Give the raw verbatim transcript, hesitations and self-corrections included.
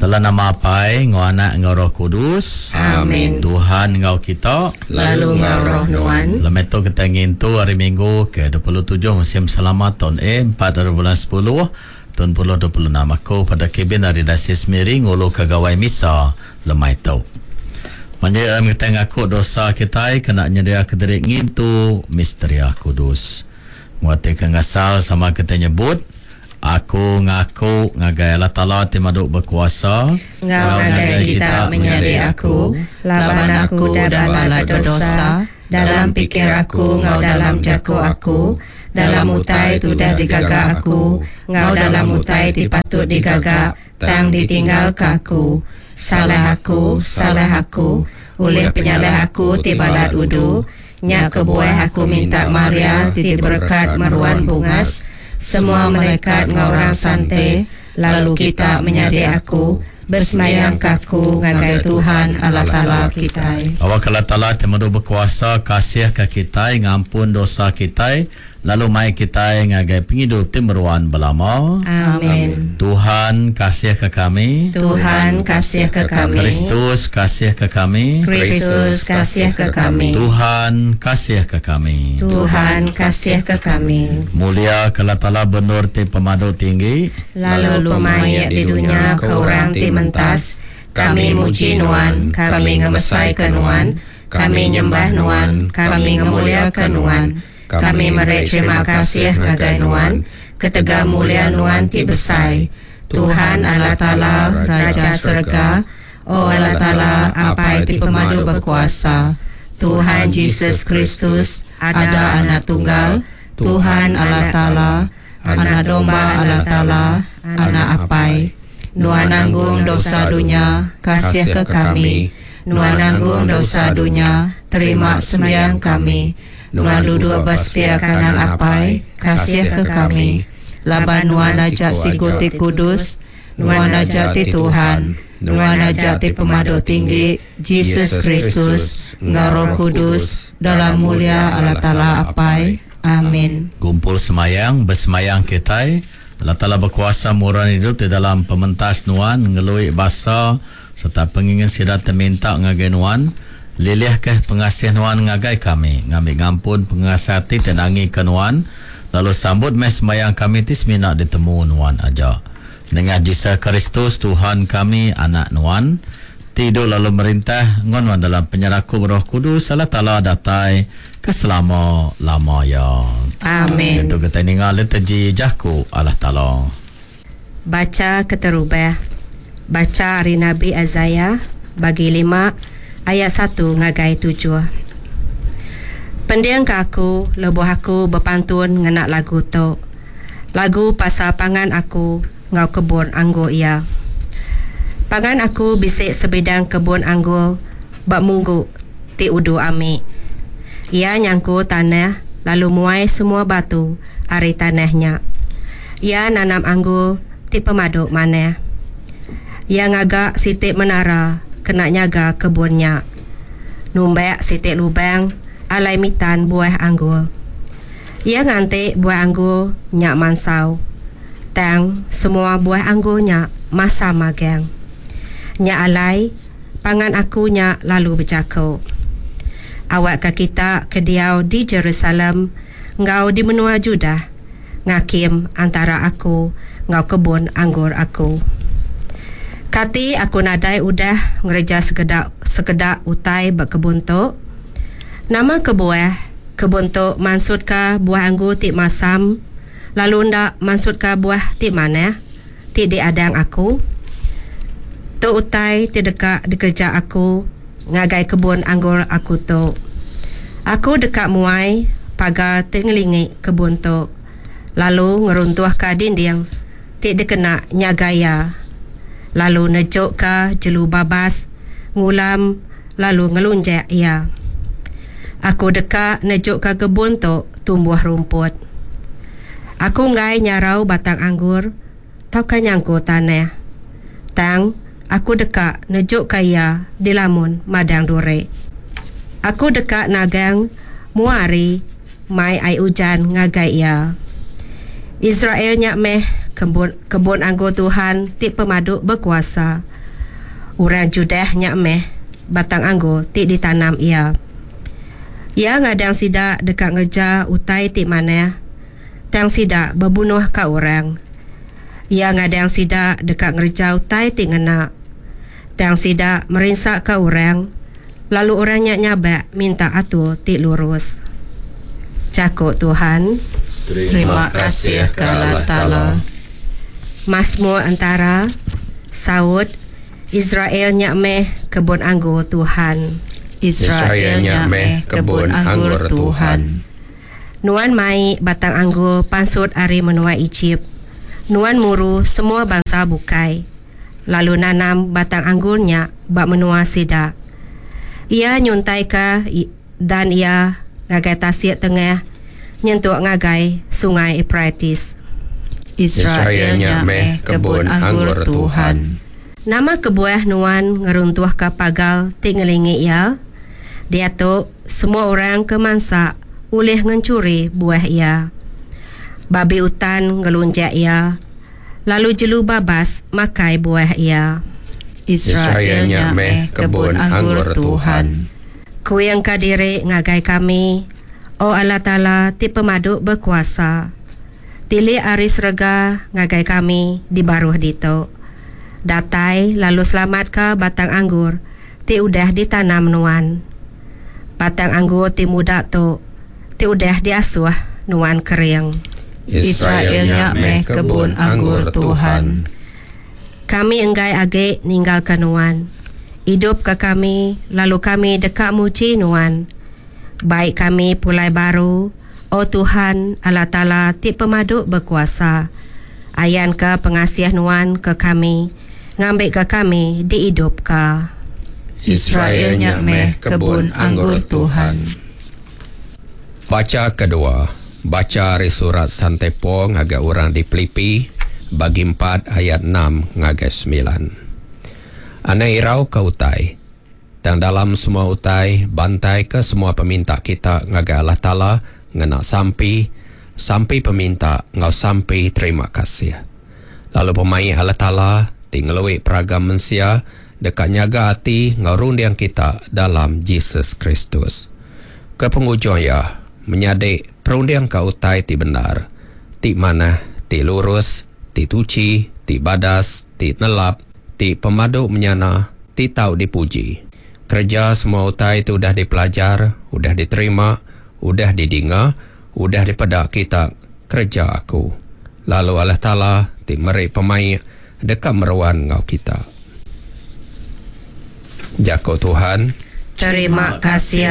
Dalam nama Apai, enggau Anak, enggau Roh Kudus. Amin. Tuhan enggau kita. Lalu enggau roh nuan. Lemai tu kita ngintu hari Minggu ke dua puluh tujuh musim selamat tahun A empat hari bulan sepuluh tahun puluh dua puluh enam. Aku pada kebin dari Dasis Miri ngulu ke gawai misa lemai tu. Manjai kita ngaku dosa kita kena nyedia kediri ngintu misteria kudus. Muati ke ngasal sama kita nyebut aku ngaku ngagai Allah Taala ti madu berkuasa enggau ngagai kita menyadi aku laban aku udah balat berdosa dalam pikir aku enggau dalam jaku aku, dalam utai ti udah digaga aku enggau dalam utai ti patut digaga tang ditinggalka aku. Salah aku, salah aku, oleh penyalah aku ti balat udu. Nya kebuah aku minta Maria ti diberkat meruan bungas, semua malaikat enggau orang sante, lalu kita menyadi aku, bersemayang ke aku ngagai Tuhan Allah Taala kita. Awak Allah Taala ti madu berkuasa kasih ke kita, ngampun dosa kita, lalu mai kita ngagai pengidup ti meruan belama. Amin. Tuhan kasih ke kami. Tuhan kasih ke kami. Kristus kasih ke kami. Kristus kasih ke kami. Tuhan kasih ke kami. Tuhan kasih ke kami. Mulia ke Allah Taala benur ti pemadu tinggi, lalu pemaik di dunia ke orang ti mentas. Kami muji nuan, kami ngemesai ke nuan, kami nyembah nuan, kami ngemulia ke nuan. Kami meri terima kasih ngagai nuan, ketega mulia nuan ti besai. Tuhan Allah Taala, Raja Serega, O Allah Taala, Apai ti pemadu berkuasa, Tuhan Jesus Kristus, ada anak tunggal, Tuhan Allah Taala, anak domba Allah Taala, anak Apai. Nuan nanggung dosa dunia, kasih ke kami. Nuan nanggung dosa dunia, terima sembahyang kami. Nuan duduk bersepiak kanan Apai, kasih ke kami. Laban nuan ajak siku ti kudus, nuan ajak ti Tuhan, nuan ajak ti pemadu tinggi, Jesus Kristus, enggau Roh Kudus, dalam mulia Allah Taala Apai. Amin. Kumpul semayang, bersemayang kita. Allah Taala berkuasa murah hidup di dalam pementas nuan, ngelui basa serta pengingin sida terminta ngagai nuan. Lilih ke pengasih nuan ngagai kami, ngambil ngampun pengasih hati tenangi ke nuan, lalu sambut meh sembahyang kami ti semina ditemu nuan aja. Dengan Jesus Kristus Tuhan kami, anak nuan, tidur lalu merintah ngon nuan dalam penyerakup Roh Kudus Allah Taala datai ke selama-lama ya. Amin. Itu kita ningal liturgi jaku Allah Taala. Baca keterubah. Baca hari Nabi Isaiah bagi lima ayat satu ngagai tujuh. Pendiang ke aku, lebuh aku berpantun ngenak lagu tu. Lagu pasal pangan aku ngau kebun anggur ia. Pangan aku bisik sebidang kebun anggur bak munggu ti udu ami. Ia nyangku tanah lalu muai semua batu ari tanahnya. Ia nanam anggur ti pemaduk maneh. Ia ngagak sitik menara kena nyaga kebunnya. Numbek sitik lubang alai mitan buah anggur. Ia ngantik buah anggur nyak mansau. Tang semua buah anggur nyak masa magang. Nyak alai pangan aku nyak lalu berjaku. Awak ke kita kediau di Jerusalem ngau di menua Judah ngakim antara aku ngau kebun anggur aku. Kati aku nadai udah ngereja sekedak sekedak utai berkebun tu. Nama kebuah kebun tu mansut ka buah anggur ti masam lalu ndak mansut ka buah ti manah ti diadang aku. Tu utai ti deka dikerja aku ngagai kebun anggur aku tu. Aku deka muai pagar ti ngelingi kebun tu lalu ngeruntuh ka dinding ti dikena nyaga ia. Lalu nejuk ka jelu babas ngulam lalu ngelunjak ia. Aku deka nejuk ka kebun tu tumbuh rumput. Aku ngai nyarau batang anggur tauka nyangku tanah. Tang aku deka nejuk ka ia di lamun madang duri. Aku deka nagang muari mai ai ujan ngagai ia. Israel nyak meh kebun, kebun anggur Tuhan ti pemadu berkuasa. Orang Judah nya meh batang anggur ti ditanam Iya. Iya ngadang sida deka ngereja utai ti manah, tang sida bebunuhka orang. Iya ngadang sida deka ngereja utai ti ngena, tang sida merinsaka orang, lalu orang nya nyabak minta atur ti lurus. Jaku Tuhan. Terima kasih ke Allah Taala. Masmur entara, saut, Israel nya meh kebun anggur Tuhan. Israel nya meh kebun anggur Tuhan. Nuan mai batang anggur pansut ari menua Ejip. Nuan muru semua bansa bukai, lalu nanam batang anggur nya ba menua sida. Iya nyuntaika dan iya ngagai tasik tengah nyentuk ngagai Sungai Eupratis. Israel nya meh kebun anggur Tuhan. Nama kebuah nuan ngeruntuhka pagar ti ngelingi iya? Diatu, semua orang ke mansa ulih ngenchuri buah iya. Babi utan ngelunjak iya, lalu jelu babas makai buah iya. Israel nya meh kebun anggur Tuhan. Kuingka diri ngagai kami, O Allah Taala ti pemadu bekuasa. Tilik ari serega ngagai kami di baruh ditu. Datai lalu selamatka batang anggur ti udah ditanam nuan. Batang anggur ti muda tu, ti udah diasuh nuan kering. Israel nya meh kebun anggur Tuhan. Kami enggai agi ninggalka nuan. Idupka kami, lalu kami deka muji nuan. Bai kami pulai baru, O Tuhan, Allah Taala ti pemadu bekuasa. Ayanka pengasih nuan ke kami, ngambika kami diidupka. Israel nya meh kebun anggur Tuhan. Bacha kedua. Bacha ari surat Sante Paul ngagai orang di Pilipi, bagi empat ayat enam ngagai semilan. Anang irau ke utai, tang dalam semua utai bantaika semua peminta kita ngagai Allah Taala ngena sampi, sampi peminta enggau sampi terima kasih. Lalu pemaik Allah Taala ti ngelui peragam mensia deka nyaga ati enggau runding kita dalam Jesus Kristus. Ke pengujung iya, menyadi perundingka utai ti bendar, ti manah, ti lurus, ti tuchi, ti badas, ti nelap, ti pemadu menyana, ti tau dipuji. Kereja semua utai ti udah dipelajar, udah diterima, udah didinga, udah dipeda kita, kereja aku. Lalu Allah Taala ti meri pemaik deka meruan enggau kita. Jaku Tuhan. Terima kasih